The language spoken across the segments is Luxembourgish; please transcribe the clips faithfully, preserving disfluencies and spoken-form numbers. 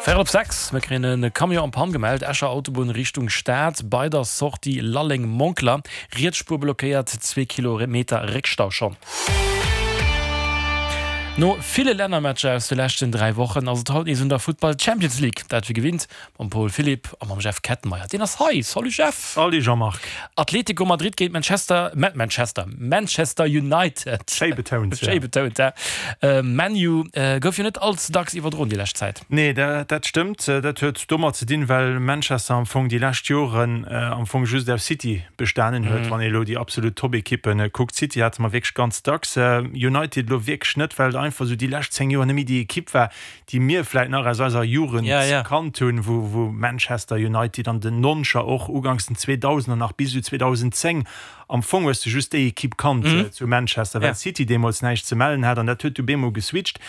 Véierel op sechs, Mir kréien e Camion en panne gemellt, Escher Autobunn Richtung Stad, bei der Sortie Lalleng-Monkler, riets Spuer blockéiert, zwee Kilometer Réckstau schonn. No ville Lännermatcher aus de leschten dräi Wochen ass et haut nees un der Futtball Champions League. Dat wéi gewinnt mam Paul Philipp a mam Jeff Kettenmeyer. Deen ass hei. Salut Jeff! Salut Jean-Marc! Atlético Madrid géint Manchester, Manchester, Manchester United. Schéi betount, ja. Schéi betount, ja. ManU gouf jo net all ze dacks iwwerdroen déi lescht Zäit. Nee, dat stëmmt. Dat huet domat ze dinn, well Manchester am Fong déi lescht Joren am Fong just aus City bestanen huet, wann ee elo déi absolut Top-Ekippe kuckt. City hate mer wierklech ganz dacks, United elo wierklech net, well et einfach esou déi lescht zéng Joer net méi déi Ekipp war, déi mir vläit nach aus eiser Jugend kannt hunn, wou Manchester United an den Noncher, och uganks den Zweedausender nach bis esou zweedausendzéng, am Fong hues de just déi Ekipp kannt zu Manchester, well City deemools näischt ze mellen hat an dat huet du bemol geswitcht.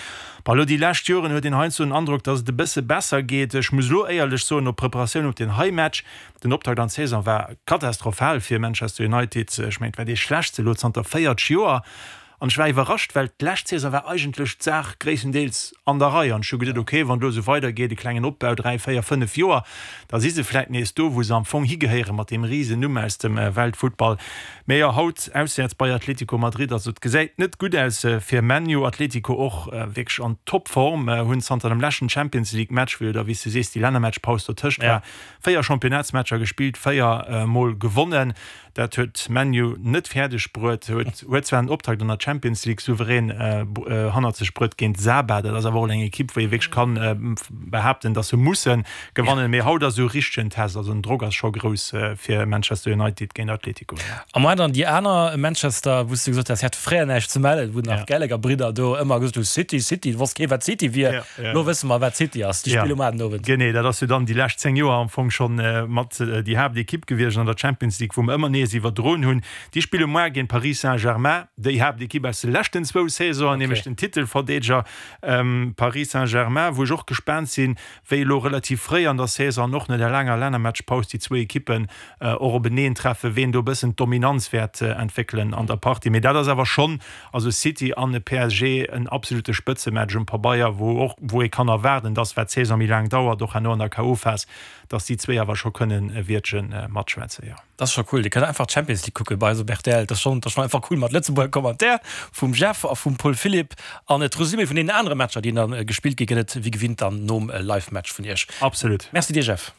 Bon, elo déi lescht Joren huet een heiansdo den Androck, datt et e bësse besser geet. Ech muss elo éierlech soen, no Preparatioun op deen hei Match, den Optakt an d'Saison war katastrophal fir Manchester United. Ech mengen, et war dee schlechtste elo zanter véierzeg Joer. An ech war iwwerrascht, well d'lescht Saison war eigentlech d'Saach gréisstendeels an der Rei. An ech hu geduet, ok, wann et elo esou weidergeet, e klengen Opbau, dräi, véier, fënnef Joer, da si se vläit nees do, wou se am Fong higehéieren, mat deem Risennumm aus dem Weltfuttball. Mee jo, haut auswäerts bei Atlético Madrid, also et gesäit net gutt aus fir ManU. Atlético och wierklech an Topform, hunn zanter dem leschten Champions League Match, wou jo da, wéi s de sees, déi Lännermatchpaus dotëscht war, véier Championnatsmatcher gespillt, véier Mol gewonnen. Dat huet ManU net fäerdeg bruet, huet zwar den Optakt an der Champions League souverän hannert sech bruet géint Saba, dat ass awer och eng Ekipp, wou ee wierklech kann behaapten, datt se musse gewannen. Mee haut ass esou e richtegen Test, also den Drock ass scho grouss fir Manchester United géint Atletico. A mar dann déi aner Manchester, wou s de gesot has, hätt fréier näischt ze mellen, wou nach Gallagher-Bridder do ëmmer gesot hu City, City, et wosst kee wat City wier. Elo wësse mer wat City ass, déi spille muar den Owend. Genee, dat ass jo dann déi lescht zéng Joer am Fong schonn mat déi Haaptekipp gewiescht an der Champions League, wou mer ëmmer nees iwwerdroen hunn. Déi spille muar géint Paris Saint-Germain, déi Haaptekipp aus de leschten zwou Saisonen, nämlech den Titelverdeedeger Paris Saint-Germain, wou ech och gespaant sinn, wéi elo relativ fréi an der Saison an och no der laanger Lännermatchpaus déi zwou Ekippen och openeen treffen, ween do e bëssen d'Dominanz wäert entwéckelen an der Partie. Mee dat ass awer schonn, also City an e P S G, en absolute Spëtzematch um Pabeier, wou och wou ee kann erwaarden, dass, wat d'Saison méi laang dauert, och herno an der K O. Phas, dass déi zwéi awer scho kënnen e Wiertche matschwätzen, jo. Dat ass scho cool, Dir kënnt einfach d'Champions League kucke bei eis op R T L. Dat ass schonn, dat ass schonn einfach cool mat Lëtzebuerger Commentaire vum Jeff a vum Paul Philipp. An d'Resumé vun deenen anere Matcher, déi dann gespillt gi, gëtt et wéi gewinnt dann nom Live-Match vun Iech. Absolut. Merci dir, Jeff.